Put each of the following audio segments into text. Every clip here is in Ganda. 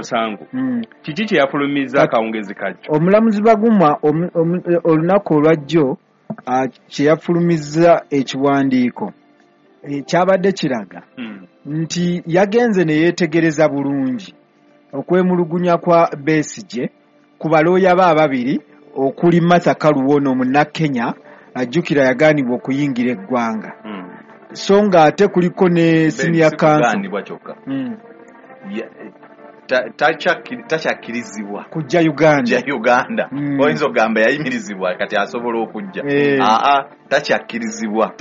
musango, kiki kye yafulumizza akawungezi kajjo? Omulamuzi Baguma olunaku olwajjo kye yafulumizza ekiwandiiko kyabadde kiraga nti yagenze ne yeetegereza bulungi okwemulugunya kwa Besigye ku balooya be ababiri okuli Martha Karua ono Munnakenya, ajjukira yagaanibwa okuyingira eggwanga. So nga ate kuliko ne senior counsel Takyakkirizibwa kujja Uganda. Oyinza okugamba yayimirizibwa kati asobola okujja. Takyakkirizibwa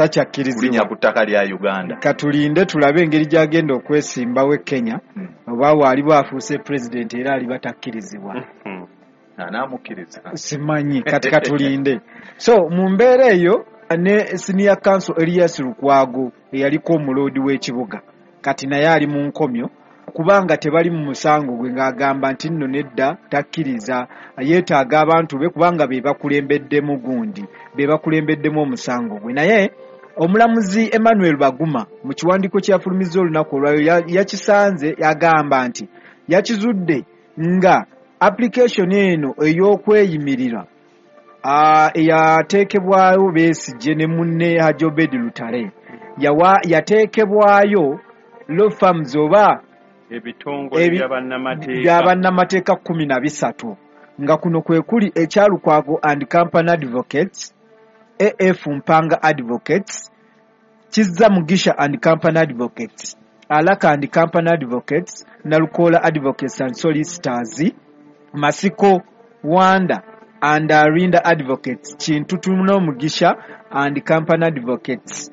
kulinnya ku ttaka lya Uganda. Katulinde tulabe engeri gy'agenda okwesimbawo e Kenya, oba waaliwo afuuse pulezidenti era aliba takkirizibwa. Anaamukkiriza simanyi, kati katulinde. So mu mbeera eyo ne senior counsel Elias Lukwago eyaliko omuloodi w'ekibuga kati naye ali mu nkomyo kubanga tebali mu musango gwe, ng'agamba nti nno nedda takkiriza, yeetaaga abantu be kubanga be bakulembeddemu gundi, be bakulembeddemu omusango gwe. Naye omulamuzi Emmanuel Baguma mu kiwandiiko kye yafulumizza olunaku olwayo yakisanze, yagamba nti yakizudde nga application eno ey'okweyimirira eyateekebwayo Besigye ne munne Hajji Obeid Lutale yateekebwayo law firms oba ebitongole bya bannamateeka 13, nga kuno kwe kuli ekya Lukwago and Company Advocates, AF Mpanga Advocates, Kizza Mugisha and Company Advocates, Alaka and Company Advocates, Nalukola Advocates and Solicitors, Masiko Wanda and Arinda Advocates, Kintu Mugisha and Company Advocates,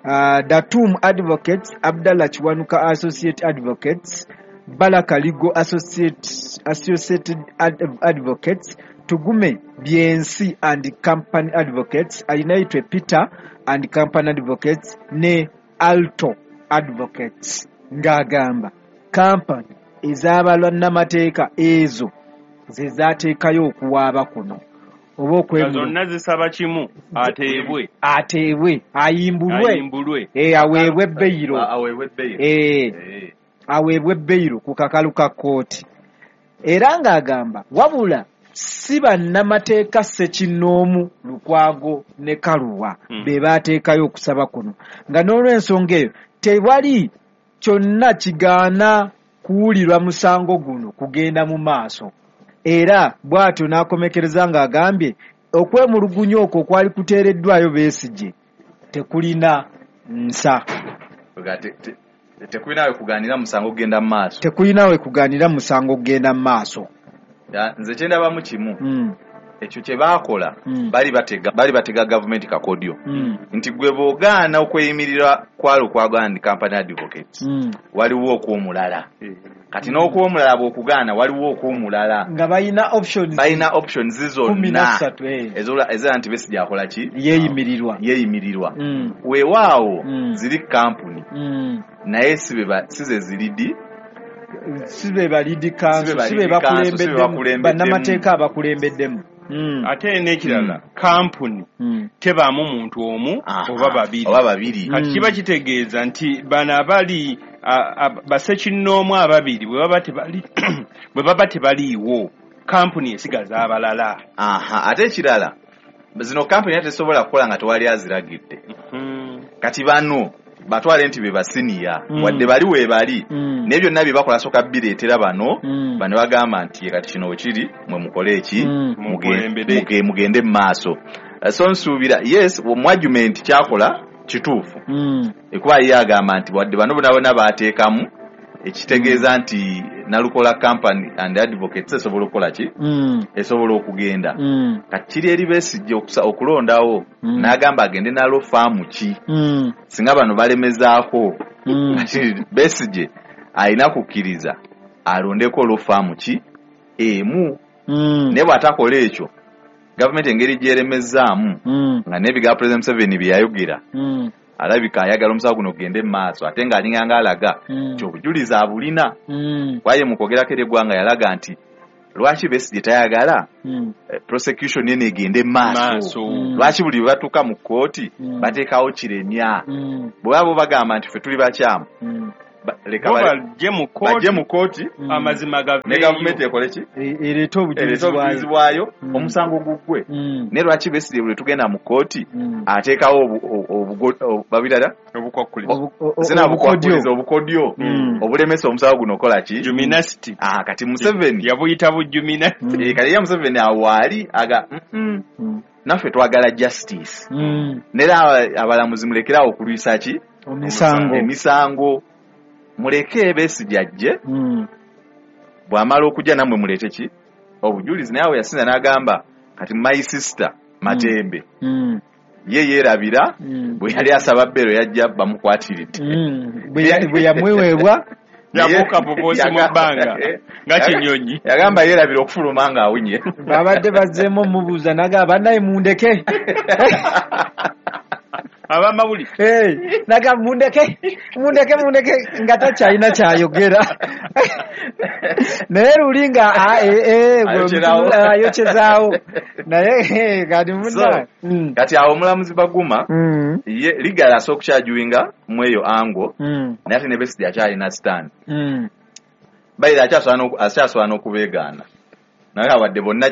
Datum Advocates, Abdallah Kiwanuka Associate Advocates, Baraka Legal Associated Advocates, Tugume BNC and Company Advocates, Alinaitwe Peter and Company Advocates ne Alto Advocates. Ng'agamba kampani ez'abannamateeka ezo ze zaateekayo okuwaaba kuno oba zonna zisaba kimu, ateebwe ayimbulwe, aweebwe beyiro, aweebwe beyiro ku kakalu ka kkooti. Era ng'agamba wabula si bannamateeka ssekinnoomu Lukwago ne Karua be baateekayo okusaba kuno, nga n'olw'ensonga eyo tewali kyonna kigaana kuwulirwa musango guno kugenda mu maaso. Era bw'atyo n'akomekereza ng'agambye okwemulugunya okwo okwali kuteereddwayo Besigye tekulina nsa, tekulina we kugaanira musango kugenda mu maaso, tekulina we kugaanira musango kugenda mu maaso. Nze kye ndabamu kimu, ekyo kye baakola bali batega gavumenti kakodyo nti gwe bw'ogaana okweyimirira kwa Lukwago and Company Advocates waliwo okw'omulala, kati n'okw'omulala bw'okugaana waliwo okw'omulala, nga balina options, balina options zonna ezira nti Besigye akola ki, yeeyimirirwa. Weewaawo ziri kampuni naye si ze ziridi, si be balidi council, si be bakulembeddemu bannamateeka abakulembeddemu. Ate n'ekirala kampuni tebaamu muntu omu oba babiri. Kati kiba kitegeeza nti bano abali bassekinnoomu ababiri bwe baba tebaliiwo, kampuni esigaza abalala. Ate ekirala zino kampuni tesobola kukola nga tewali aziragidde. Kati bano batwale nti be basiniya wadde bali weebali, naye byonna bye bakola soka bireetera bano bano bagamba nti kati kino wekiri mwe mukole eki, mugende mu maaso. So nsuubira yes mu argument kyakola kituufu, ekuba ye agamba nti wadde bano bonna bonna baateekamu ekitegeeza nti Nalukola Company and Advocates esobola okukola ki, esobola okugenda. Kati kiri eri Besigye okulondawo n'agamba agende nalo faamu ki, singa bano balemezaako. Kati Besigye alina kukkiriza alondeko lo faamu ki emu, naye bw'atakola ekyo gavumenti engeri gy'eremezaamu nga n'ebigambo President Museveni bye yayogera, alabika ayagala omusango guno ogende mu maaso, ate ng'alinga ng'alaga nti obujulizi abulina. Kwaye mu kwogerako eri eggwanga yalaga nti lwaki Besigye tayagala prosecution eno egende mu maaso, lwaki buli bwe batuuka mu kkooti bateekawo kiremya, bwe baba bagamba nti ffe tuli bakyamu, Bajje mu kooti amazima gaveeyo ne gavumenti ekole ki ereete obujulizi bwayo omusango guggwe. Ne lwaki Besigye bwe tugenda mu kooti ateekawo babirala obukodyo obulemesa omusango guno okola ki Juminasti. Kati Museveni yabuyita bujuminasti. Kati ye Museveni awaali aga naffe twagala justice. Nera abalamuzi mulekerawo okulwisa ki emisango muleke Besigye ajje bw'amala okujja nammwe muleete ki obujulizi. Naye awo yasinza n'agamba kati my sister Matembe ye yeerabira bwe yali asaba bbeero yajja bamukwatiridde bwe yamweweebwa yabuuka bubuusi mu bbanga nga kinyonyi. Yagamba yeerabira okufuluma ng'awunye. Babadde bazzeemu omubuuza n'agamba bannaye mundeke abamawulire n'agamba mundeke nga takyalina kyayogera. Naye luli nga ayokyezaawo naye kati munna kati awo omulamuzi Baguma ye ligala asooka okukyajuwinga mu eyo ango naye ate ne Besigye akyalina stand bayira akyasobola n'okubeegaana naye awadde bonna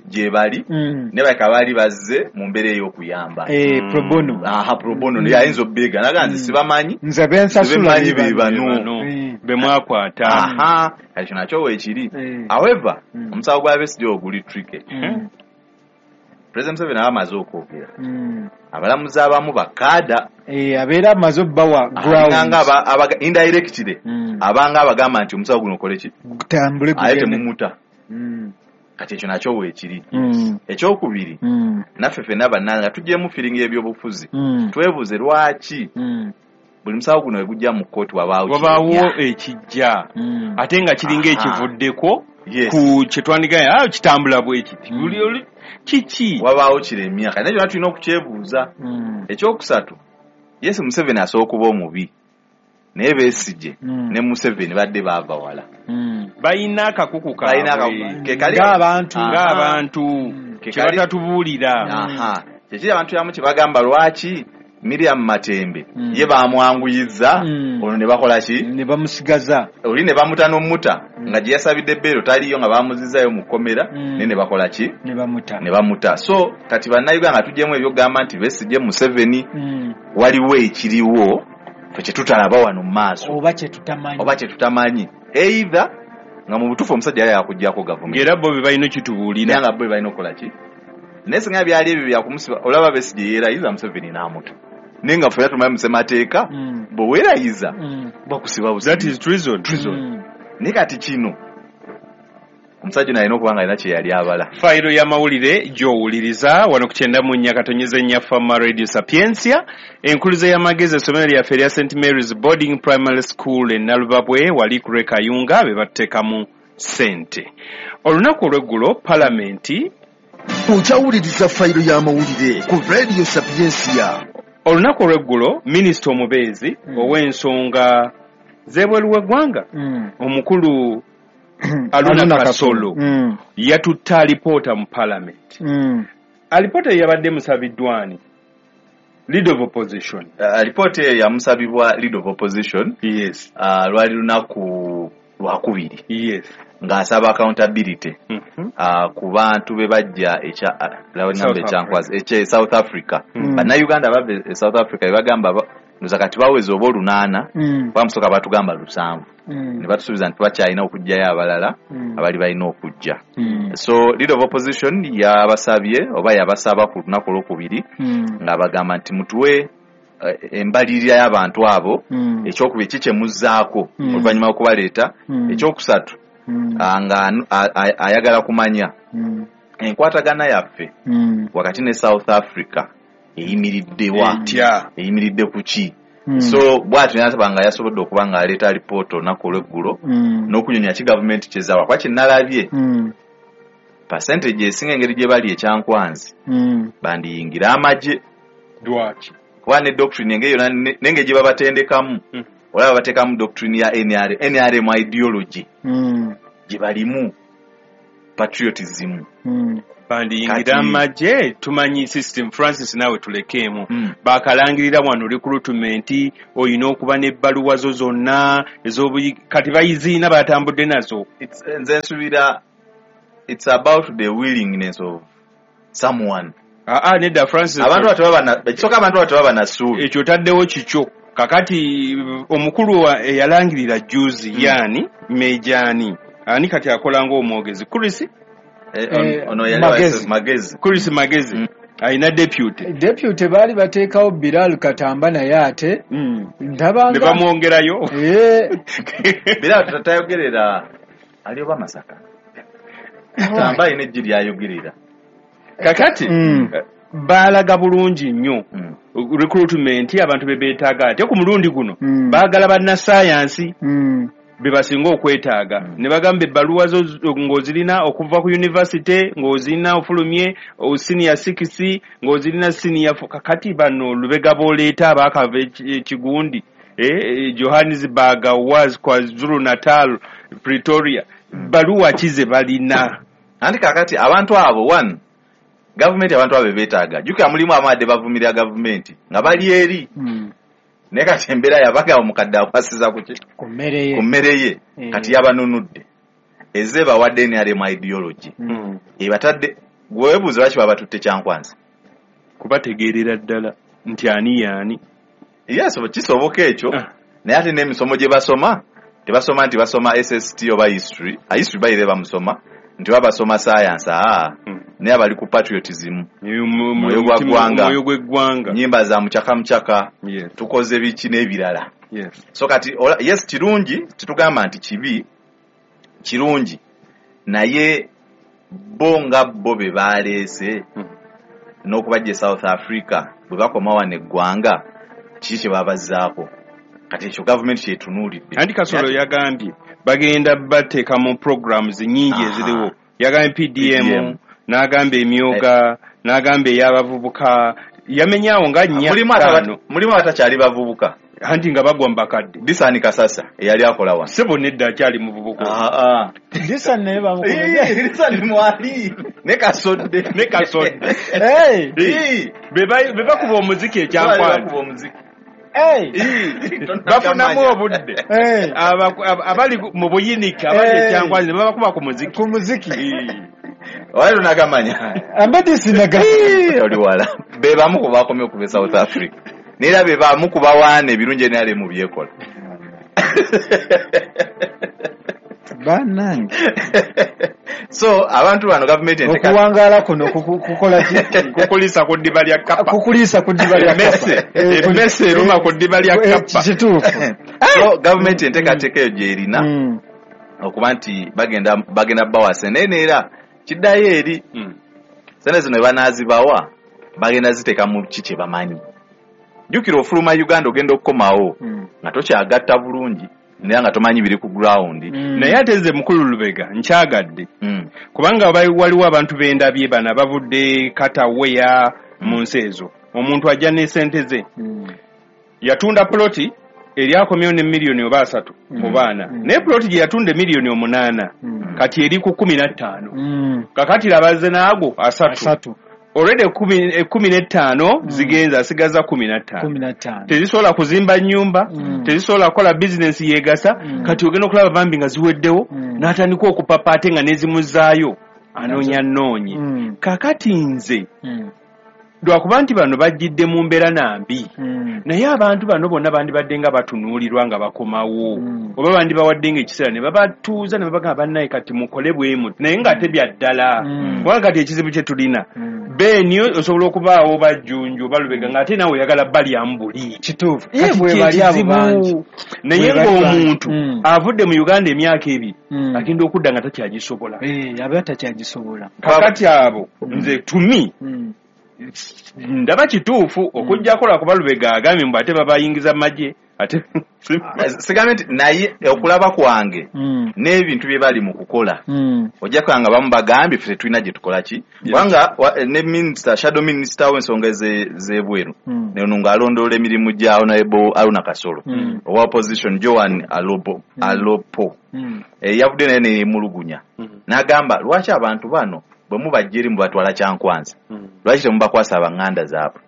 gye bali ne baleka baali bazze mu mbeera ey'okuyamba pro bono. Pro bono naye ayinza obbeegaana naga nze sibamanyi nze bensasula be bano be mwakwata. Kati kino nakyo weekiri. However omusango gwa Besigye ogwo guli tricky. President Museveni aba amaze okwogera abalamuzi abamu bakaada abeera amaze obbawa grounds indirectly abanga abagamba nti omusango guno okole ki gutambule aye temumuta. Kati ekyo nakyo weekiri. Ekyokubiri naffe ffenna bannanga tuggyemu firingi ebyobufuzi twebuuze lwaki buli musango guno we gujja mu kkooti wabaawo ekijja ate nga kiringa ekivuddeko ku kye twandigambye kitambula bwe kiti buli kiki wabaawo kiremya. Kati nakyo tulina okukyebuuza. Ekyokusatu Yesu Museveni asobola okuba omubi naye Besigye ne Museveni badde baava wala. Balina akakuku kaabwe ng'abantu kye batatubuulira. Kyekiri abantu abamu kye bagamba lwaki Miriam Matembe ye bamwanguyiza ono ne bakola ki ne bamusigaza oli ne bamuta n'omuta nga gye yasabidde bbeero taliyo nga bamuzizaayo mu kkomera naye ne bakola ki ne bamuta. So kati bannayuganda tuggyemu ebyokugamba nti Besigye Museveni waliwo ekiriwo ffe kye tutalaba wano mu maaso oba kye tutamanyi either nga mu butuufu omusajja yali yakuggyako gavumenti era bo be balina okitubuulira nga bo be balina okukola ki naye singa byali ebyo byakumusiba olaba Besigye yeerayiza Museveni n'amuta naye nga ffenna tumanyi mu ssemateeka bwe weerayiza bakusiba busibi. That is treason. Naye kati kino omusajja ono alina okuba nga alina kye yali abala. Fayiro y'amawulire gy'owuliriza wano ku 94.4 Fama Radio Sapientia, enkuluze y'amagezi essomero lyaffe erya St Mary's Boarding Primary School e Nalubabwe wali ku lw'e Kayunga be batuteekamu ssente. Olunaku olw'eggulo palamenti okyawuliriza fayiro y'amawulire ku Radio Sapientia. Olunaku olw'eggulo minisita omubeezi ow'ensonga z'ebweru w'eggwanga omukulu Aluna Kasolo yatutte alipoota mu palamenti. Alipoota eyo yabadde musabiddwani leader of opposition. Alipoota eyo yamusabibwa leader of opposition. Yes. Lwali lunaku lwakubiri. Yes. Ng'asaba accountability ku bantu be bajja ekya South Africa. Bannayuganda bava e South Africa be bagamba ndoza kati baweza oba 8 bamusooka batugamba 7 ne batusuubiza nti bakyalina okuggyayo abalala abali balina okujja. So leader of opposition yabasabye oba yabasaba ku lunaku olwokubiri ng'abagamba nti mutuwe embalirira y'abantu abo ekyokubiri ki kye muzzaako oluvannyuma lw'okubaleeta ekyokusatu nga ayagala kumanya enkwatagana yaffe wakati ne South Africa eyimiriddewa eyimiridde ku ki. So bw'atyo n'asaba nga yasobodde okuba nga aleeta alipoota olunaku olw'eggulo n'okunyonya ki gavumenti kyezaawa kuba kye nalabye percentage esinga engeri gye bali ekyankwanzi bandiyingira amagye. Lwaki? Kuba ne doctrine engeri yonna n'engeri gye babatendekamu olaba bateekamu doctrine ya NRM ideology gye balimu. patriotism. Bandiyingira amagye, tumanyi system. Francis, naawe tulekeemu. Bakalangirira wano recruitment, oyina okuba n'ebbaluwa zo zonna ez'obuyi, kati bayiziina batambudde nazo. Nze nsuubira it's about the willingness of someone. Aa, nedda Francis. Abantu ekisooka, abantu abo tebaba na ssuubi. Ekyo otaddewo kikyo. Kakati omukulu eyalangirira juzi, yaani mejaani ani kati akola ng'omwogezi, Chris? Ono yali Magezi. Magezi. Chris Magezi alina deputy. Deputy baali bateekawo Bilal Katamba, naye ate ndabanga Ne bamwongerayo. Bira tayogerera, ali oba Masaka. Tamba alina ejji lyayogerera. Kakati baalaga bulungi nnyo recruitment, abantu be beetaaga, ate ku mulundi guno baagala bannasayansi be basinga okwetaaga. Ne bagamba ebbaluwa zo ng'ozirina okuva ku university, ng'ozirina ofulumye senior 6, ng'ozirina senior 4. Kakati bano Lubega b'oleeta abaakava ekigundi Johannesburg, was KwaZulu Natal, Pretoria, bbaluwa ki ze balina? Anti kakati abantu abo, one, gavumenti abantu abo beetaaga. Jjukira mulimu abadde bavumirira gavumenti nga bali eri, naye kati embeera yabagamba omukadde akwasiza ku ki? Ku mmere ye. Ku mmere ye. Kati yabanunudde, eze bawadde NRM ideology, ebatadde. Gwe weebuuze lwaki babatutte Kyankwanzi? Kubategeerera ddala nti ani yaani. Yes, kisoboka ekyo. Ah. Naye ate n'emisomo gye basoma, tebasoma nti basoma SST oba history. History bayire bamusoma nti baba basoma science, aa, naye abali ku patriotism, mwoyo gwa ggwanga. Mwoyo gw'eggwanga. Nyimba za mucaka mucaka, tukoze biki n'ebirala. So kati yes, kirungi, tetugamba nti kibi, kirungi, naye bo nga bo be baleese n'okubajja e South Africa, bwe bakoma wano eggwanga, kiki kye babazzaako? Kati ekyo gavumenti kyetunuulidde. Anti Kasolo yagambye bagenda bateeka mu programs nyingi eziriwo. Yagambye PDM, PDM. N'agamba emyoga, n'agamba ey'abavubuka, yamenyawo nga nnya, Mulimu ttaano. Mulimu abatakyali bavubuka. Anti nga bagwa mu bakadde. Disani Kasasa eyali akola wano. Sebo, nedda, akyali muvubuka. Ah, ah. Disani naye bamukomeze. Disani mwali ne Kasodde. Ne Kasodde. Hey! Be bakuba omuziki ekyankwanzi. Bakuba omuziki. Hey! Bafunamu obudde. Hey! Abali mu buyinike, abali ekyankwanzi, ne babakuba ku muziki. Ku muziki. Wali tonagamanya? Ambadde sinaga. Oli wala. Be bamu ku bakomye okuva e South Africa, neera be bamu ku bawaana ebirungi NRM byekola. Bannange. So abantu bano gavumenti Okuwangaala kuno kukola ki? Kukulisa ku ddiba lya kapa. Kukuliisa ku ddiba lya Emmese. kapa. Emmese eruma ku ddiba lya kapa. Kituufu. So gavumenti enteekateeka eyo gyerina okuba nti bagenda bawa sente, naye neera kiddayo eri sente zino webanaazibawa, bagenda ziteeka mu ki kye bamanyi. Jjukira ofuluma Uganda, ogenda okukomawo nga tokyagatta bulungi, naye nga tomanyi biri ku ground. Naye ate nze mukulu Lubega nkyagadde, kubanga waliwo abantu bendabye bano abavudde kataweya mu nsi ezo. Omuntu ajja ne sente ze, yatunda ploti eri, akomyewo ne miliyoni oba 30 oba 40, naye ploti gye yatunda 8 miliyoni kati eri ku 15. Kakati labaze n'ago 30. 30. Already 15 zigenza, asigaza 15. 15. Tezisobola kuzimba nyumba, tezisobola kukola bizinesi yegasa. Kati ogenda okulaba bambi nga ziweddewo, n'atandika okupapa, ate nga nezimuzaayo anoonya nnoonyi. Kakati nze lwakuba nti bano bajjidde mu mbeera nambi, naye abantu bano bonna bandibadde nga batunuulirwa nga bakomawo, oba bandibawadde nga ekiseera ne babatuuza ne babagamba, "Bannaye, kati mukole bwe muti," naye ng'ate bya ddala. Kubanga kati ekizibu kye tulina, beeni osobola okubaawo bajjunju oba Lubega ng'ate naawe oyagala balyamu buli. Kituufu. Kati Ye bwe bali abo kyekizibu. bangi. Naye Bwe bali bangi. ng'omuntu avudde mu Uganda emyaka 2, agenda okudda nga takyagisobola. Eh, aba takyagisobola. Kakati abo nze tumi ndaba kituufu okujjako lwakuba Lubega agambye mbu ate babayingiza magye ate. Sigambe nti, naye okulaba kwange n'ebintu bye bali mu kukola, ojja kulaba nga bamu bagambye ffe tetulina gye tukola ki, kubanga ne minisita, shadow minister w'ensonga z'ebweru, ono ng'alondoola emirimu gya Honorable Aruna Kasolo, owa opposition Joan Alopo, yavudde naye neyemulugunya. N'agamba lwaki abantu bano bwe mubajja eri mubatwala Kyankwanzi, lwaki temubakwasa abanganda zaabwe?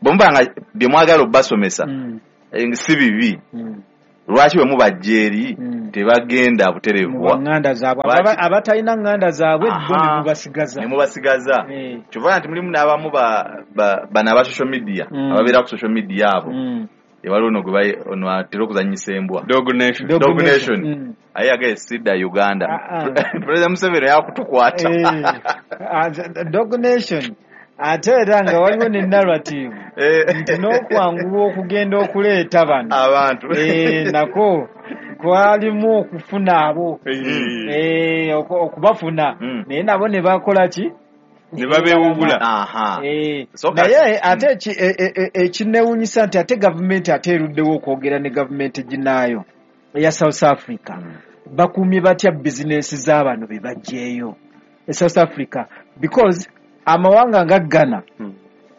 Bwe muba nga bye mwagala obbasomesa si bibi, lwaki bwe mubajja eri tebagenda butereevu nganda zaabwe? Abatalina nganda zaabwe bo ne mubasigaza, ne mubasigaza. Kyova nti mulimu n'abamu bano aba social media, ababeera ku social media abo, ewaliwo ono gwe ono atera okuzannyisa embwa, Dog Nation, Dog Nation, aye yagaye sidda Uganda, President Museveni yakutukwata. Dog Nation ate era nga waliwo ne narrative nti n'okwanguwa okugenda okuleeta bano abantu nako kwalimu okufuna abo, okubafuna, naye nabo ne bakola ki? Ne babeewugula. Naye ate ekinneewuunyisa nti ate gavumenti ate eruddewo okwogera ne gavumenti ginaayo eya South Africa, bakuumye batya bizinensi z'abano be baggyeyo e South Africa? Because amawanga nga Ghana,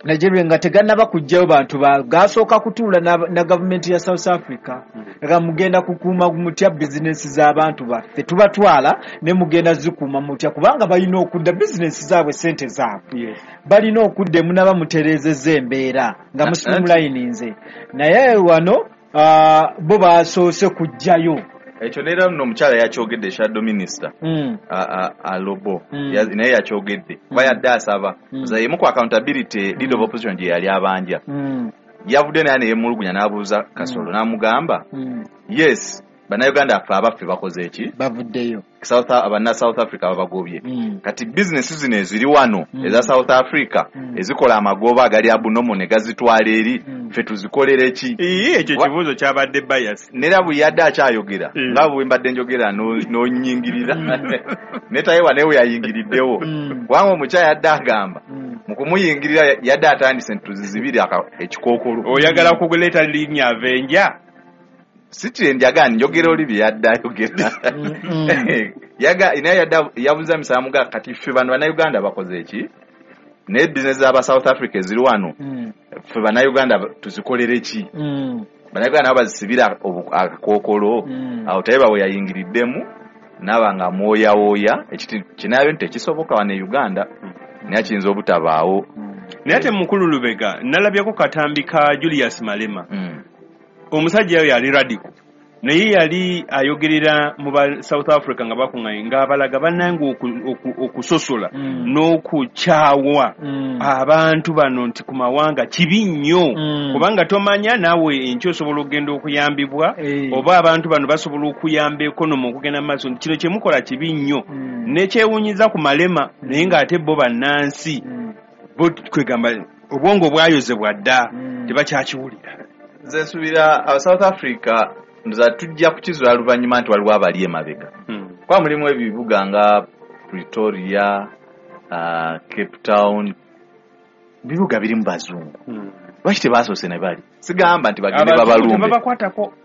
Nigeria nga tegannaba kuggyayo bantu gasooka kutuula na gavumenti ya South Africa, nga mugenda kukuuma mutya bizinensi z'abantu baffe, tubatwala ne mugenda zikuuma mutya, kubanga balina okudda bizinensi zaabwe, sente zaabwe balina okudda emunaba mutereezezza embeera nga musimulayinize. Naye wano bo basoose kuggyayo ekyo. Neera nno omukyala yakyogedde, shadow minister Alobo, naye yakyogedde kuba yadde asaba emu ku accountability leader of opposition gye yali abanja. Yavudde naye neyemulugunya n'abuuza Kasolo, n'amugamba yes, bannayuganda affe abaffe bakoze eki, bavuddeyo, abanna South Africa babagobye. Kati bizinesi zino eziri wano eza South Africa ezikola amagoba agali abunomo ne gazitwala eri, ffe tuzikolere ki? Ekyo kibuuzo kyabadde bias. Nera bwe yadde akyayogera nga bwe mbadde njogera n'onyingirira, netayewa naye we yayingiriddewo, kubanga omukyala yadde agamba mu kumuyingirira yadde atandise nti tuzizibire ekikookolo. Oyagala kuleeta linnya Avenger? Si njagala njogera oli bye yadde ayogera. Naye yadde yabuuza misamuga kati ffe bano bannayuganda bakoze eki, naye bizinesi z'aba South Africa eziri wano ffe bannayuganda tuzikolere ki? Bannayuganda nabo bazisibira akakookolo. Awo Tayebwa we yayingiriddemu n'aba nga amwoyawooya ekiti kinaayo nti tekisoboka wano e Uganda, naye kiyinza obutabaawo. Naye ate mukulu Lubega, nalabyeko katambi ka Julius Malema, omusajja oyo yali radical, naye yali ayogerera mu ba South Africa nga bakuŋŋaanye ng'abalaga bannange okusosola n'okukyawa abantu bano nti ku mawanga kibi nnyo, kubanga tomanya naawe enkya osobola okugenda okuyambibwa, oba abantu bano basobola okuyamba ekonomi okugenda mu maaso, kino kye mukola kibi nnyo. Nekyewuunyiza ku Malema, naye ng'ate bo bannansi bo kwegamba obwongo bwayozebwa dda, tebakyakiwulira. Nze nsuubira aba South Africa nza tujja kukizuula luvannyuma nti waliwo abali emabega, kuba mulimu ebibuga nga Pretoria, Cape Town, bibuga birimu bazungu. Lwaki tebasoose ne bali? Sigamba nti bagende babalumbe,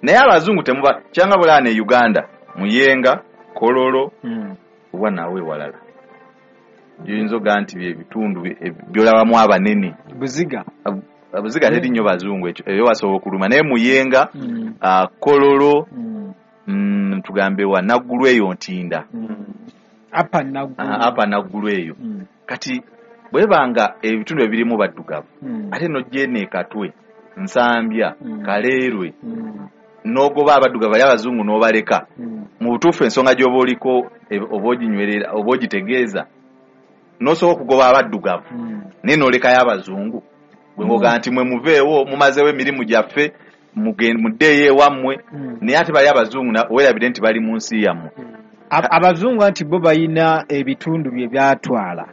naye abazungu temuba kyanga bulala ne Uganda, Muyenga, Kololo, oba naawe walala gyoyinza ogaa nti byebitundu byolabamu abanene. Buziga, Buziga teri nnyo bazungu, ekyo ebyo basobola okuluma, naye Muyenga, Kololo, tugambe wa Naggulu eyo Ntinda, apa Naggulu eyo. Kati bwebanga ebitundu ebirimu baddugavu, ate nojja eno e Katwe, Nsambya, Kaleerwe, n'ogoba abaddugavu bali abazungu n'obaleka, mu butuufu ensonga gy'oba oliko oba oginywerera oba ogitegeeza, n'osobola okugoba abaddugavu naye n'olekayo abazungu. Bwe ngoga nti mwe muveewo mumazeewo emirimu gyaffe muddeeyo ewammwe, naye ate bali abazungu weerabire nti bali mu nsi yammwe. Abazungu anti bo balina ebitundu bye byatwala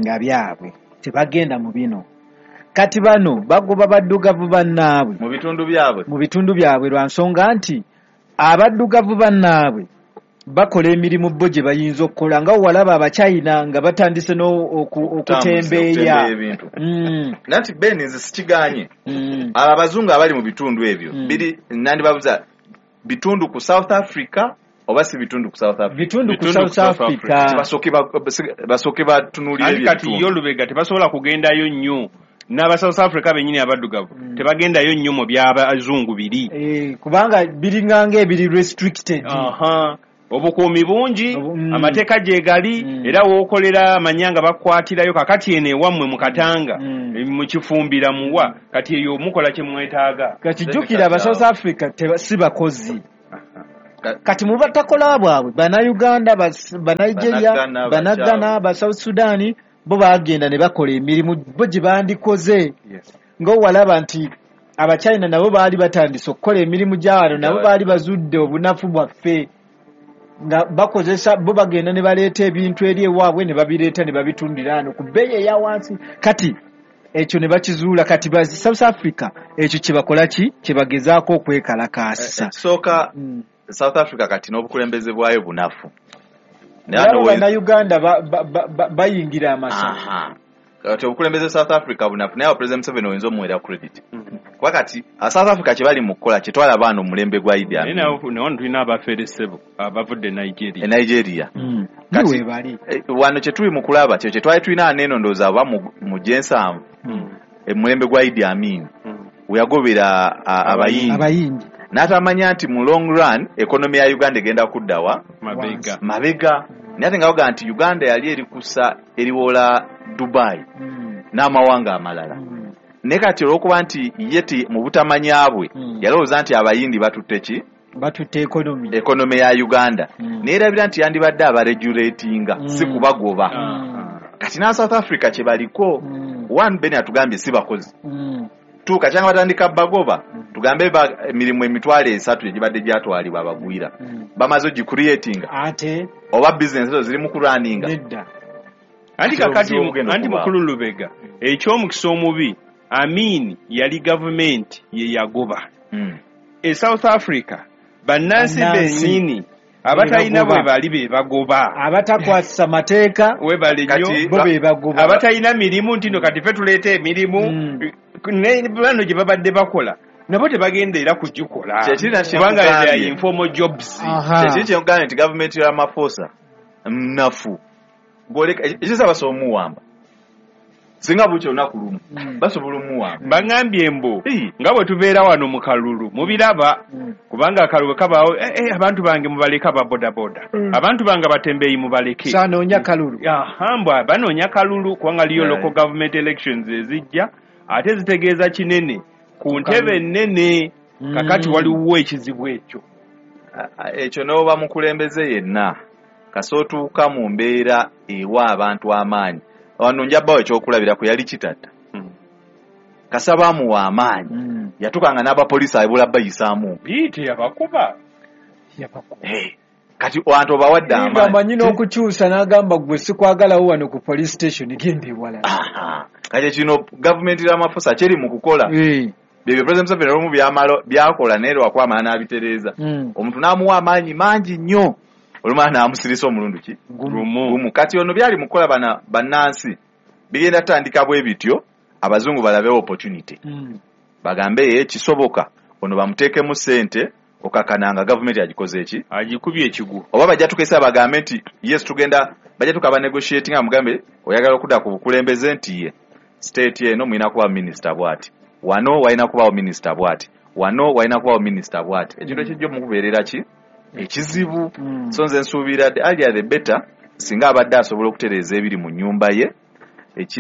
nga byabwe, tebagenda mu bino. Kati bano bagoba baddugavu bannaabwe mu bitundu byabwe, mu bitundu byabwe, lwa nsonga nti abaddugavu bannaabwe bakola emirimu bo gye bayinza okukola, nga walaba Abachina nga batandise okutembeeya ebintu. Nanti Ben nze sikiganye, abo abazungu abali mu bitundu ebyo biri nandibabuza bitundu ku South Africa oba si bitundu ku South Africa? Bitundu ku South Africa. Basooke batunuulire ebyo. Kati yo Lubega tebasobola kugendayo nnyo n'aba South Africa bennyini abaddugavu tebagendayo nnyo mu by'abazungu biri, kubanga biringanga ebiri restricted. Obukuumi bungi, amateeka gye gali, era wookolera amanyanga bakukwatirayo. Kakati eno ewammwe mu Katanga, mu Kifumbira muwa, kati eyo mukola kye mwetaaga. Kati jjukira aba South Africa si bakozi. Kati mu batakola bwabwe Bannayuganda, Banigeria, Bannagana, ba South Sudan bo bagenda ne bakola emirimu bo gye bandikoze. Nga walaba nti Abachina nabo baali batandise okukola emirimu gyawano, nabo baali bazudde obunafu bwaffe nga bakozesa bo bagenda ne baleeta ebintu eri ewaabwe ne babireeta ne babitundira wano ku bbeeyi eya wansi. Kati ekyo ne bakizuula. Kati ba South Africa ekyo kye bakola ki kye bagezaako okwekalakaasisa. Ekisooka South Africa kati n'obukulembeze bwayo bunafu. Nabo Bannayuganda bayingira amasaka. Kati obukulembeze South Africa bunafu, naye President Museveni oyinza omuweera credit. Kuba kati South Africa kye bali mu kukola kyetwala abaana omulembe gwa Idi Amin. Naye tulina abaferesebo abavudde Nigeria. Nigeria. Kati wano kye tuli mu kulaba kye twali tulina aneeno ndowooza aba mu gyensanvu omulembe gwa Idi Amin we yagobera abayindi. N'atamanya nti mu long run economy ya Uganda egenda kuddawa mabega. Naye ate nga bagamba nti Uganda yali eri kusa eriwola Dubai n'amawanga amalala. Naye kati olw'okuba nti ye mu butamanya bwe yalowooza nti abayindi batutte ki? Batutte economy ya Uganda. Neerabira nti yandibadde abaregulatinga si kubagoba. Kati na South Africa kye baliko one Ben atugambye si bakozi. Tuuka kyanga batandika bagoba tugambe emirimu 300 egibadde gyatwalibwa abagwira bamaze ogicreatinga ate oba business ezo ziri mu kurunninga. Nedda. Anti kakati anti mukulu Lubega eky'omukisa omubi Amin yali gavumenti ye yagoba. E South Africa bannansi bennyini abatalina bwe bali be bagoba, abatakwasisa mateeka webale nnyo bo be bagoba, abatalina mirimu nti no kati ffe tuleeta emirimu ne bano gye babadde bakola nabo tebagenda era kugikola kubanga they are informal jobs. Kyekiri kye nkugambye nti gavumenti ya Ramaphosa nnafu, ekisa basobola omuwamba singa bukya olunaku lumu basobola omuwamba. Baŋŋambye mbu nga bwe tubeera wano mu kalulu mubiraba kubanga akalulu kabaawo abantu bange mubaleke aba bodaboda, abantu bange abatembeeyi mubaleke, sanoonya kalulu. Mbwa banoonya kalulu kubanga liyo local government elections ezijja ate zitegeeza kinene ku ntebe ennene. Kakati waliwo ekizibu ekyo. Ekyo n'oba mukulembeze yenna kasootuuka mu mbeera ewa abantu amaanyi. Wano njabawo ekyokulabirako yali Kitatta. Kasaba amuwa amaanyi yatuukanga n'abapoliisi abula bayisaamu biite yabakuba. Kati wantu obawadde amaanyi amanyi n'okukyusa n'agamba gwe sikwagalawo wano ku police station genda ewalala. Kati kino gavumenti Ramaphosa kyeri mu kukola byebyo President Museveni olumu byakola naye lwakwamala n'abitereeza. Omuntu n'amuwa amaanyi mangi nnyo olumala n'amusirisa omulundi ki gumu. Kati ono byali mukukola bannansi bigenda tandika bwe bityo abazungu balabewo opportunity bagambe ye kisoboka ono bamuteekemu ssente okakananga gavumenti agikoze eki agikubye ekigwo, oba bajja tukesa bagambe nti yes tugenda bajja tukaba negotiating amugambe oyagala okudda ku bukulembeze nti ye state eno mulina kuba minister bw'ati, wano walina kubaawo minister bw'ati, wano walina kubaawo minister bw'ati. Ekintu ekijja omukubeerera ki ekizibu. So nze nsuubira the earlier the better singa abadde asobola okutereeza ebiri mu nnyumba ye.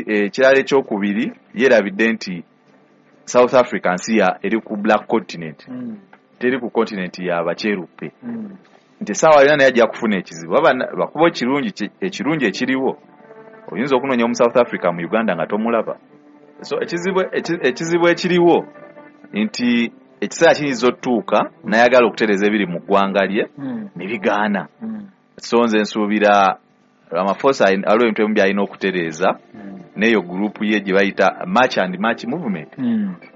Ekirala ekyokubiri yeerabidde nti South Africa nsi ya eri ku black continent, teri ku continent ya bakyeruppe, nti essaawa yonna naye ajja kufuna ekizibu. Lwakuba ekirungi ekiriwo oyinza okunoonya omu South Africa mu Uganda nga tomulaba. So ekizibu ekiriwo nti ekiseera kiyinza otuuka n'ayagala okutereeza ebiri mu ggwanga lye ne bigaana. So nze nsuubira Ramaphosa aliwo ebintu ebimu by'alina okutereeza n'eyo gurupu ye gye bayita March and March movement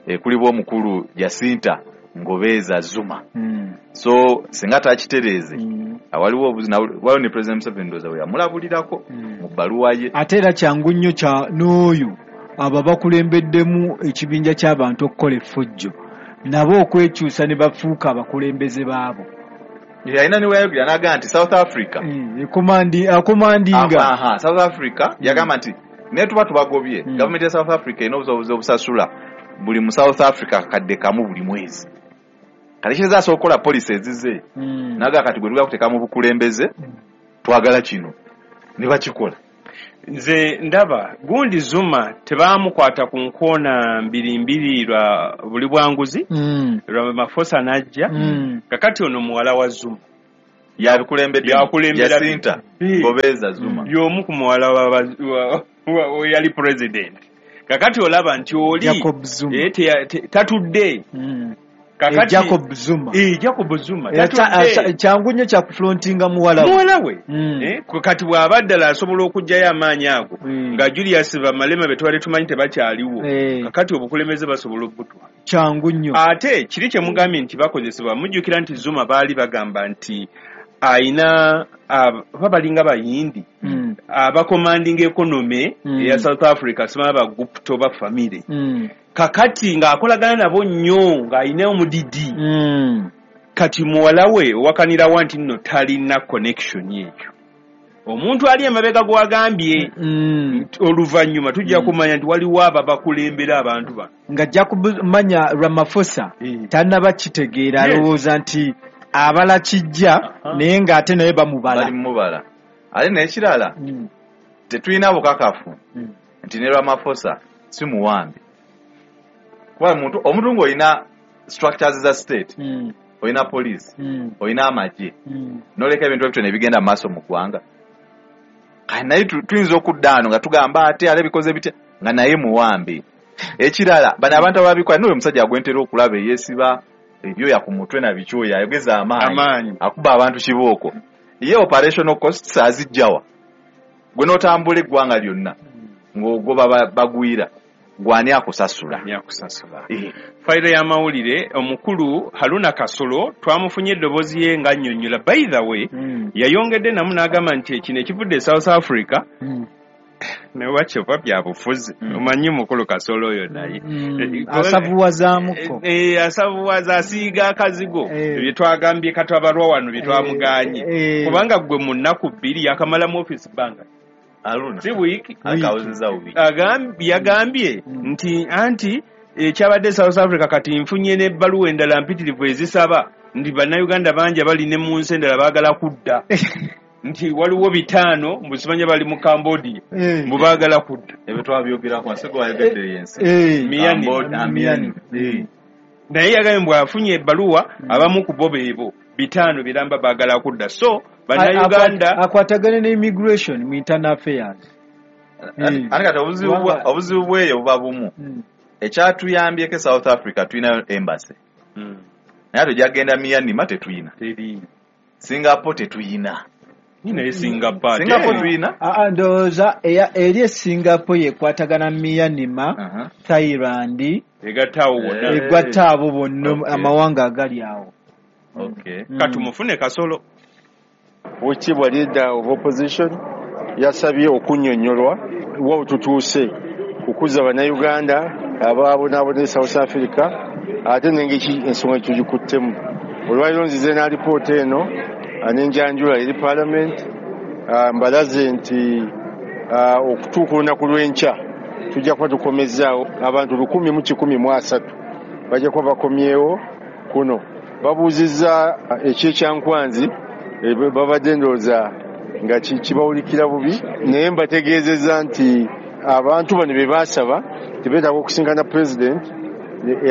ekulibwa omukulu Jacinta Ngobeza Zuma. So singa takitereeze awaliwo waliwo ne President Museveni ndowooza we yamulabulirako mu bbaluwa ye. Ate era kyangu nnyo kya n'oyo abo bakulembeddemu ekibinja ky'abantu okukola effujjo nabo okwekyusa ne bafuuka abakulembeze baabo. Yalina ne weyayogera n'agamba nti South Africa akomandinga South Africa yagamba nti naye tuba tubagobye gavumenti ya South Africa erina obusobozi obusasula buli mu South Africa kakadde kamu buli mwezi. Kati kiyinza asobola okukola policy ezize naga kati gwe tugala kuteeka mu bukulembeze, twagala kino ne bakikola. Nze ndaba gundi Zuma tebamukwata ku nkoona mbiri mbiri lwa buli bwanguzi, Ramaphosa n'ajja. Kakati ono muwala wa Zuma yabikulembedde, Yakulembera Jacinta Gobeza Zuma y'omu ku muwala wa yali president. Kakati olaba nti oli Jacob Zuma. Tatudde. Kakati Jacob Zuma. Jacob Zuma tatudde. Kyangu nnyo kya kufrontinga muwala we. Muwala we. Kati bw'aba ddala asobola okuggyayo amaanyi ago, nga Julius Malema be twali tumanyi tebakyaliwo, kakati obukulembeze basobola okubutwala. Kyangu nnyo. Ate kiri kye mugambye nti bakozesebwa, mujjukira nti Zuma baali bagamba nti ayina oba balinga Bayindi abacommanding economy eya South Africa, simanyi ba Gupta oba family. Kakati ng'akolagana nabo nnyo, ng'ayina omudidi. Kati muwala we owakanirawa nti nno talina connection eyo. Omuntu ali emabega gw'agambye, oluvannyuma tujja kumanya nti waliwo abo abakulembera abantu bano. Nga ajja kumanya Ramaphosa tannaba kitegeera, alowooza nti abala kijja, naye ng'ate naye bamubala. Bali mubala. Ate n'ekirala, tetulina bukakafu nti ne Ramaphosa si muwambe. Kuba omuntu ng'olina structures za state, olina police, olina amagye, n'oleka ebintu ebyo ne bigenda mu maaso mu ggwanga. Kati naye tuyinza okudda ano nga tugamba ate ale bikoze bitya, nga naye muwambe. Ekirala, bano abantu ababikola, n'oyo omusajja gwentera okulaba eyeesiba ebyoya ku mutwe na bikyoya, ayogeza amaanyi, akuba abantu kibooko. Ye operational costs azijjawa? Gwe n'otambula eggwanga lyonna ng'ogoba bagwira, gw'ani akusasula? Ani akusasula? Fayiro y'amawulire, omukulu Haruna Kasolo twamufunye eddoboozi ye ng'annyonnyola. By the way, yayongedde namu n'agamba nti kino ekivudde e South Africa ne wakyova bya bufuzi. Omanyi mukulu Kasolo oyo naye. Asavuwazaamuko. Asavuwaza, asiiga akazigo. Bye twagambye katabalwa wano bye twamuganye. Kubanga gwe mu nnaku bbiri yakamala mu office bbanga. Haruna. Si wiiki. Akawuzizza wiiki. Yagambye nti anti ekyabadde South Africa kati nfunye n'ebbaluwa endala mpitirivu ezisaba nti bannayuganda bangi abali ne mu nsi endala baagala kudda. Nti waliwo 5 mbu simanya bali mu Cambodia, mbu baagala kudda. Ebyo twabyogerako, nsi gwe wayogedde yensi. Miyani. Cambodia, Miyani. Naye yagambye mbu afunye ebbaluwa abamu ku bo beebo 5 biramba baagala kudda. So bannayuganda akwatagane ne immigration mu internal affairs. Ate kati obuzibu bw'eyo buba bumu. Ekyatuyambyeko South Africa tulinayo embassy. Naye ate ojja Myanmar tetuyina. Teri. Singapore tetuyina. Nina ye Singapore. Singapore tuyina? Ndowooza eri e Singapore yekwatagana Myanmar, Thailand, Egatta awo wonna. Egatta abo bonna amawanga agali awo. Kati mufune Kasolo. Oweekitiibwa leader of opposition yasabye okunnyonnyolwa wa tutuuse kukuza bannayuganda abaabonaabona e South Africa ate n'engeri ensonga tugikuttemu. Olwaleero nzize n'alipoota eno n'enjanjula eri parliament, mbalaze nti okutuuka olunaku lw'enkya tujja kuba tukomezzaawo abantu 1,130 bajja kuba bakomyewo kuno. Babuuzizza ekyekyankwanzi, babadde ndowooza nga kibawulikira bubi, naye mbategeezezza nti abantu bano be baasaba tebeetaaga okusinkana president,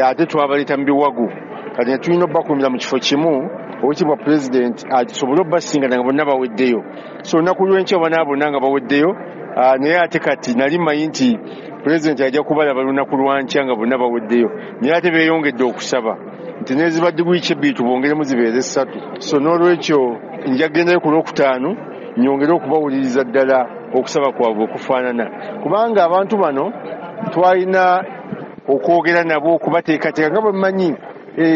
ate twabaleeta mu biwago. Kati ne tulina obbakuumira mu kifo kimu oweekitiibwa president asobole obbasinkana nga bonna baweddeyo. So olunaku lw'enkya bonna bonna nga baweddeyo, naye ate kati nali mmanyi nti president ajja kubalaba lunaku lwa nkya nga bonna baweddeyo, naye ate beeyongedde okusaba nti n'ezibadde wiiki ebbiri tubongeremu zibeere 3. So n'olwekyo nja kugendayo ku Lwokutaano nyongere okubawuliriza ddala okusaba kwabwe okufaanana, kubanga abantu bano twalina okwogera nabo okubateekateeka nga bwe mmanyi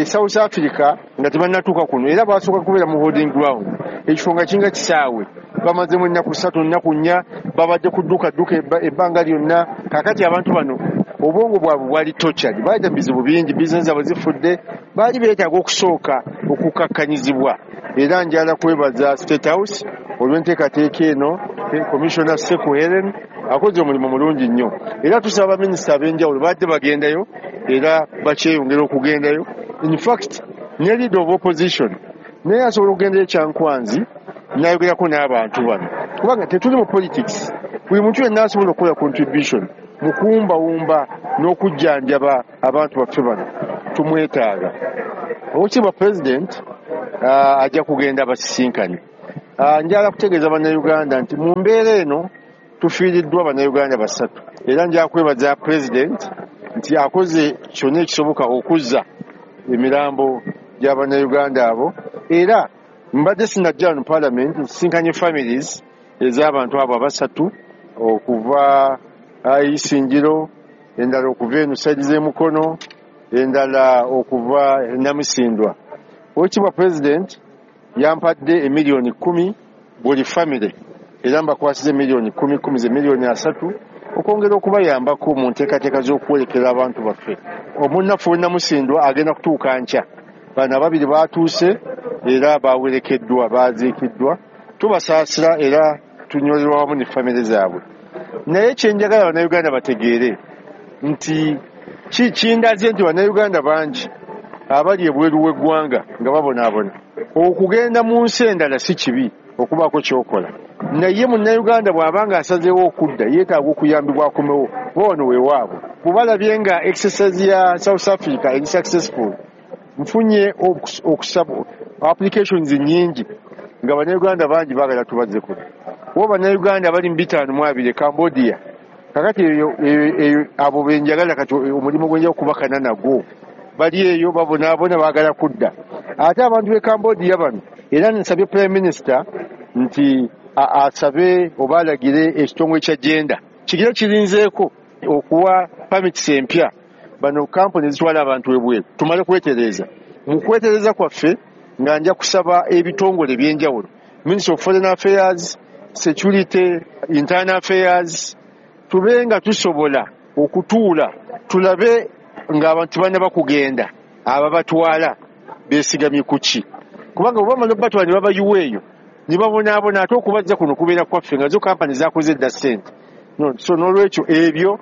South Africa nga tebannatuuka kuno, era basooka kubeera mu holding ground, ekifo nga kinga kisaawe, bamazemu ennaku 3 ennaku 4 babadde ku dduka dduka ebbanga lyonna. Kaakati abantu bano obwongo bwabwe bwali tortured, baayita mu bizibu bingi, bizinesi zaabwe zifudde, baali beetaaga okusooka okukakkanyizibwa. Era njagala kwebaza State House olw'enteekateeka eno, Commissioner Seku Helen akoze omulimu mulungi nnyo, era tusaba baminisita ab'enjawulo badde bagendayo era bakyeyongera okugendayo. In fact, Ne leader of opposition naye asobola okugenda ekyankwanzi n'ayogerako n'abantu bano, kubanga tetuli mu politics. Buli muntu yenna asobola okukola contribution mu kuwumbawumba n'okujjanjaba abantu baffe bano, tumwetaaga. Oweekitiibwa President ajja kugenda abasisinkane. Njagala kutegeeza Bannayuganda nti mu mbeera eno tufiiriddwa Bannayuganda 3, era nja kwebaza President nti akoze kyonna ekisoboka okuzza emirambo gy'Abannayuganda abo. Era mbadde sinajja mu Parliament nsisinkanye families ez'abantu abo 3 okuva Isingiro, endala okuva eno saidi z'emukono, endala okuva Namisindwa. Oweekitiibwa President yampadde emiliyoni 10 buli family, era mbakwasiza emiliyoni 10 10 ze miliyoni 3 okwongera okubayambako mu nteekateeka z'okuwerekera abantu baffe. Omunnaffe we Namusindwa agenda kutuuka nkya. Bano ababiri baatuuse era bawerekeddwa, baaziikiddwa. Tubasaasira era tunyolerwa wamu ne famire zaabwe. Naye kye njagala Bannayuganda bategeere nti kindaze nti Bannayuganda bangi abali ebweru w'eggwanga nga babonaabona. Okugenda mu nsi endala si kibi okubaako ky'okola, naye Munnayuganda bw'aba nga asazeewo okudda yeetaaga okuyambibwa akomewo, kuba wano weewaabwe. Bwe balabye nga exercise ya South Africa eri successful, nfunye okusaba applications nnyingi nga Bannayuganda bangi baagala tubazze kuno. Bo Bannayuganda bali mu 52 e Cambodia. Kakati eyo abo be njagala kati omulimu gwe nja okubakana nagwo, bali eyo babonaabona baagala kudda. Ate abantu b'e Cambodia bano, era nsabye Prime Minister nti asabe oba alagire ekitongole kya gender kigire kirinzeeko okuwa permits empya bano kampuni ezitwala abantu ebweru, tumale kwetereeza. Mu kwetereeza kwaffe nga nja kusaba ebitongole ebyenjawulo, Ministry of Foreign Affairs, Security, Internal Affairs, tube nga tusobola okutuula tulabe ng'abantu bannaba kugenda, ababatwala beesigamye ku ki, kubanga bwe bamala okubatwala ne babayiwa eyo ne babonaabona, ate okubazza kuno kubeera kwaffe nga zo kampani zakoze dda ssente. So n'olwekyo ebyo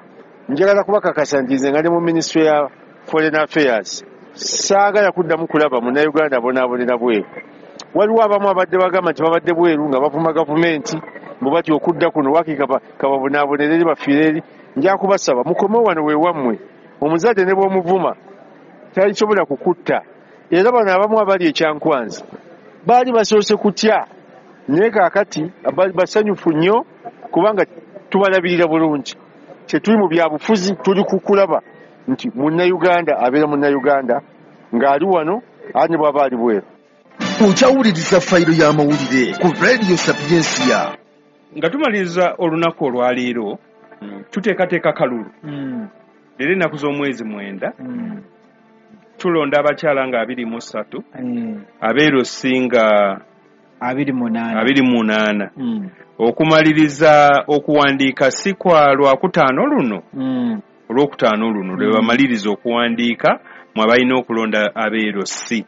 njagala kubakakasa nti nze nga ne mu Ministry ya Foreign Affairs saagala kuddamu kulaba Munnayuganda abonaabonera bweru. Waliwo abamu abadde bagamba nti babadde bweru nga bavuma gavumenti mbu batya okudda kuno, waakiri kababonaabonere eri bafiire eri. Nja kubasaba mukome wano weewammwe, omuzadde ne bw'omuvuma talisobola kukutta. Era bano abamu abali ekyankwanzi baali basoose kutya, naye kaakati basanyufu nnyo kubanga tubalabirira bulungi. Tetuli mu byabufuzi, tuli kukulaba nti Munnayuganda abeera Munnayuganda ng'ali wano ate ne bw'aba ali bweru. Okyawuliriza fayiro y'amawulire ku Radio Sapiensia. Nga tumaliriza olunaku olwaleero, tuteekateeka kalulu. Leero ennaku z'omwezi 9, tulonda abakyala nga 23, abeeru singa 28. Okumaliriza okuwandiika si kwa Lwakutaano luno, Olwokutaano luno lwe bamaliriza okuwandiika mwe balina okulonda abeeru si.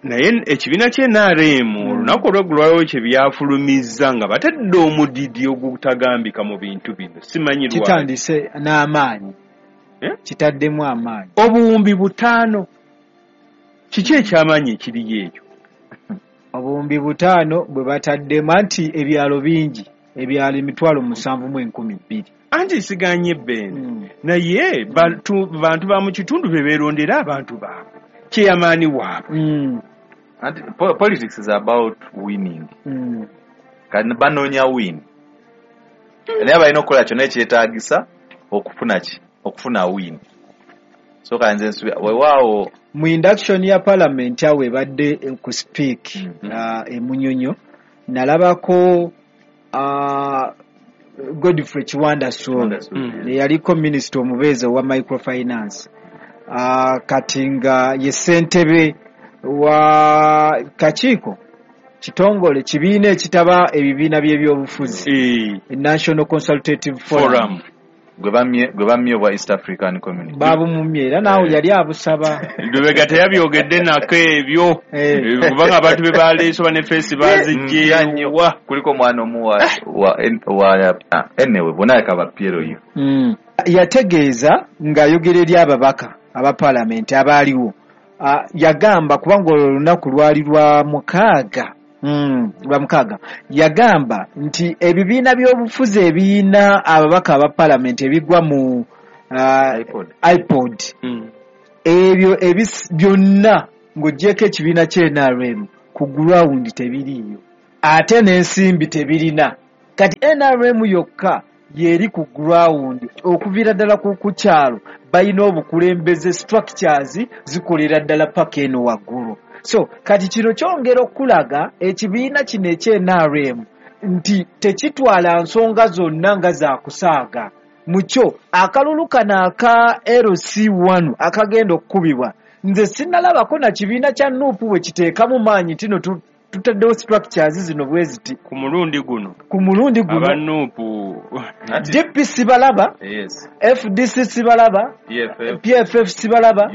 Naye ekibiina kye NRM olunaku olw'eggulo kye byafulumizza nga batadde omudidi ogutagambika mu bintu bino, simanyi lwaki. Kitandise n'amaanyi, kitaddemu amaanyi. Obuwumbi 5, kiki ekyamaanyi ekiriyo ekyo? Obuwumbi 5 bwe bataddemu, anti ebyalo bingi, ebyalo 7,200. Anti siganye Ben, naye bantu ba mu kitundu be beerondera abantu baabwe, kyeyamaani waabwe. Anti politics is about winning. Kati banoonya win, naye balina okukola kyonna ekyetaagisa okufuna ki? Okufuna win. So kanze nsubira weewaawo mu induction ya parliament awo ebadde ku speak emunyonyo, nalabako Godfrey Kiwanda Ssuuna eyaliko minisita omubeezi owa microfinance, kati nga ye ssentebe wa kakiiko kitongole kibiina ekitaba ebibiina by'ebyobufuzi, National Consultative Forum, gwe bammye obwa East African Community, babumumye era naawe yali abusaba. Lubega teyabyogedde nako ebyo, kubanga abantu be baleese oba ne feesi bazigyewa. Kuliko omwana omu wa anyway bonna kaba PLU. Yategeeza ng'ayogera eri ababaka aba paalamenti abaaliwo Yagamba kubanga olwo olunaku lwali lwa mukaaga, yagamba nti ebibiina by'obufuzi ebiyina ababaka aba palamenti ebigwa mu iPod ebyo byonna ng'oggyeko ekibiina kya NRM ku ground tebiriiyo, ate n'ensimbi tebirina. Kati NRM yokka yeri ku ground okuviira ddala ku kyalo, balina obukulembeze, structures zikolera ddala paka eno waggulu. So kati kino kyongera okulaga ekibiina kino ekya NRM nti tekitwala nsonga zonna nga zakusaaga mukyo. Akalulu kano aka LC1 akagenda okukubibwa, nze sinnalabako na kibiina kya NUP bwe kiteekamu maanyi nti no tutaddewo structures zino bwe ziti. Ku mulundi guno aba NUP DP sibalaba, FDC sibalaba, PFF sibalaba,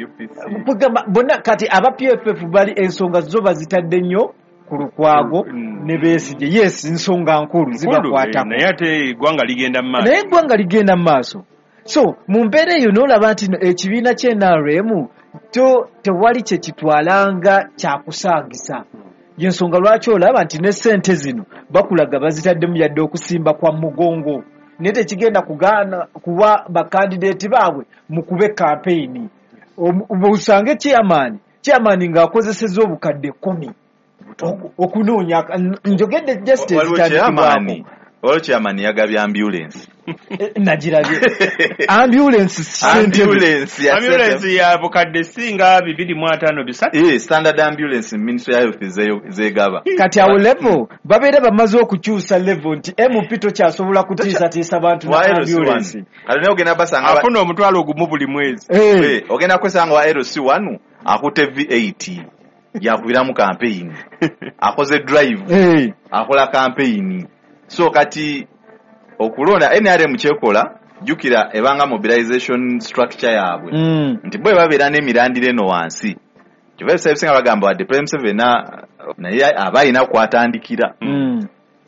bonna. Kati aba PFF bali ensonga zo bazitadde nnyo ku Lukwago ne Besigye. Yes, nsonga nkulu zibakwatako, naye ate eggwanga ligenda mu maaso. Naye eggwanga ligenda mu maaso. So mu mbeera eyo n'olaba nti ekibiina kya NRM tewali kye kitwalanga kyakusaagisa. Yensonga lwaki olaba nti ne ssente zino bakulaga bazitaddemu yadde okusimba kwa mugongo, naye tekigenda kugaana kuwa bakandideeti baabwe mukube kampeyini. Osange chairman ng'akozesezza obukadde 10 okunoonya. Njogedde just ezitandikibwako. Waliwo chairman yagabye ambulance. Nagirabye ambulance ya bukadde singa 253. Standard ambulance Ministry ya Health zegaba. Kati awo level babeera bamaze okukyusa level nti MP tokyasobola kutiisatiisa bantu na ambulance. Kati naye ogenda basanga afuna omutwalo ogumu buli mwezi. Ogenda kwesanga wa LC1 akutte V8 yakubiramu campaign, akoze drive, akola campaign. So kati okulonda NRM kyekola, jjukira ebanga mobilization structure yaabwe nti bwe babeera n'emirandira eno wansi, kyova ebiseera ebisinga bagamba wadde President Museveni naye aba alina kwatandikira.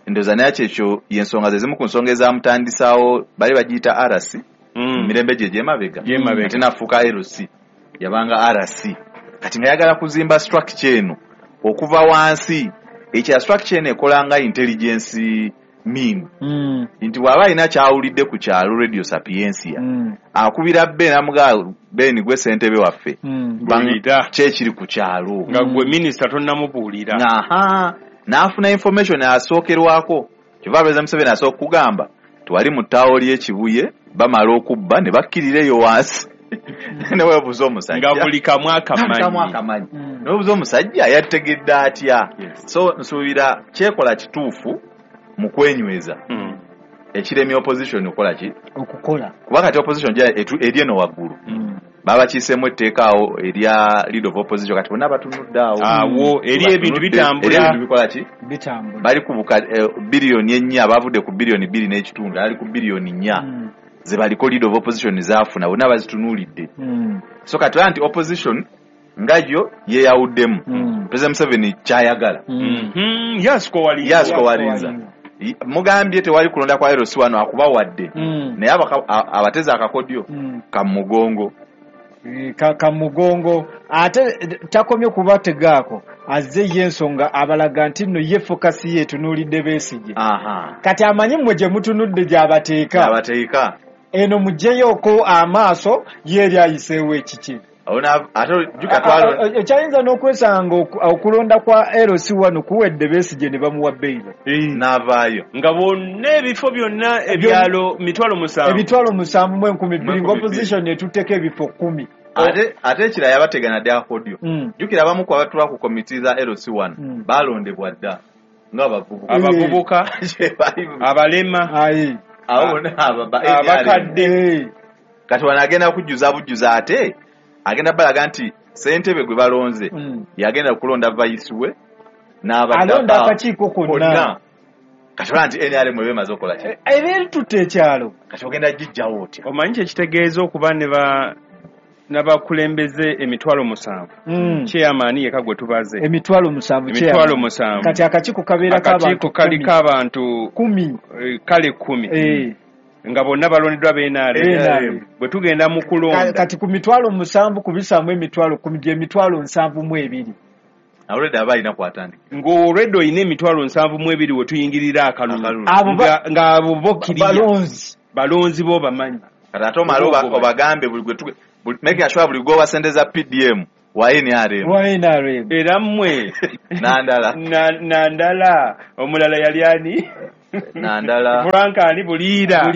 Ndowooza naye kyekyo y'ensonga ze zimu ku nsonga ezamutandisaawo, bali bagiyita RC mu mirembe gye egy'emabega, ate n'afuuka LC, yabanga RC. Kati nga yagala kuzimba structure eno okuva wansi. Ekya structure eno ekola nga intelligence mean nti bw'aba alina kyawulidde ku kyalo Radio Sapientia, akubira Ben amugaa, Ben gwe ssentebe waffe, kyekiri ku kyalo nga gwe minisita tonnamubuulira. Aha, n'afuna information asookerwako. Kyova President Museveni asooka kugamba twali mu ttaawo ly'Ekibuye bamala okubba ne bakkirira eyo wansi. Neweebuuza omusajja nga buli kamu akamanyi, neweebuuza omusajja yategedde atya. So nsuubira kyekola kituufu mu kwenyweza ekiremye opposition okukola ki? Okukola. Kuba kati opposition eri eno waggulu, babakiiseemu etteeka awo erya leader of opposition, kati bonna batunudde awo. Awo eri ebintu bitambula. Eri ebintu bikola ki? Bitambula. Bali ku biliyoni 4, abavudde ku biliyoni 2.5, ali ku biliyoni 4 ze baliko leader of opposition zaafuna, bonna bazitunuulidde. So kati olaba nti opposition nga yo yeeyawuddemu. President Museveni kyayagala. Yasikowalinza. Mugambye tewali kulonda kwa LC1 akubawadde, naye abateze akakodyo kamugongo. Kamugongo ate takomye kubategaako, azze ye ensonga abalaga nti nno ye focus ye etunuulidde Besigye. Kati amanyi mmwe gye mutunudde gy'abateeka, eno muggyeyoko amaaso ye eri ayiseewo ekiki. Ekyayinza n'okwesanga okulonda kwa LC1 kuwedde Besigye ne bamuwa beyiro n'avaayo nga bonna ebifo byonna ebyalo 7,000 7,002 nga opposition etutteko ebifo 10. Ate ekirala yabategana dde akakodyo. Jjukira abamu ku abatula ku komiti za LC1 balondebwa dda nga abavubuka, abalema, abakadde. Kati wano agenda kujjuza bujjuza, ate agenda balaga nti ssentebe gwe balonze yagenda kulonda vice we n'abalonda akakiiko konna. Kati olaba nti NRM eba emaze okukola ki? Eba eritutte ekyalo. Kati ogenda gijjawo otya? Omanyi kyekitegeeza okuba n'abakulembeze 7,000? Chairman yekka gwe tubaze 7,000. 7,000. Kati akakiiko kabeera akakiiko kaliko abantu 10 kale 10. Nga bonna balondeddwa b'NRM. Bwe tugenda mu kulonda kati ku 7,000 kubisaamu 10,000 gye 72,000. Already aba alina kwatandika. Ng'olwedde olina 72,000 we tuyingirira akalulu. Nga abo bo balonzi bo bamanyi. Kati ate omale obagambe buli making sure buli gwe sente za PDM wa NRM. Wa NRM. Era mmwe Nandala. Nandala omulala yali ani? Nandala. Frank ali Buliira.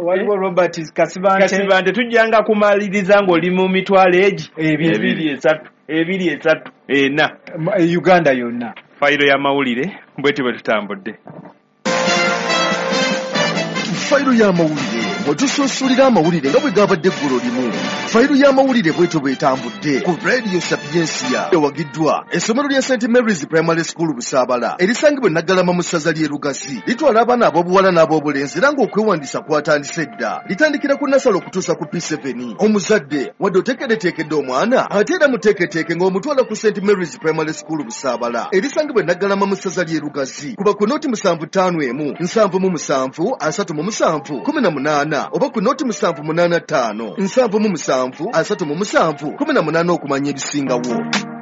Waliwo Robert Kasibante. Tujjanga kumaliriza ng'oli mu mitwalo egi 2, 3, 2, 3, 4. Uganda yonna. Fayiro y'amawulire bwetyo bwe tutambudde. Fayiro y'amawulire mwetusuusulira amawulire nga bwe gabadde eggulo limu. Fayiro y'amawulire bwetyo bwetambudde ku Radio Sapientia ewagiddwa essomero lya St Mary's Primary School Busaabala erisangibwa e Naggalama mu ssaza ly'e Lugazi. Litwala abaana ab'obuwala n'ab'obulenzi era ng'okwewandiisa kwatandise dda. Litandikira ku nasale okutuusa ku P7. Omuzadde wadde oteekereteekedde omwana ate era muteeketeeke ng'omutwala ku St Mary's Primary School Busaabala erisangibwa e Naggalama mu ssaza ly'e Lugazi. Kuba ku noti 751 77 37 18 oba ku noti 785 77 37 18 okumanya ebisingawo.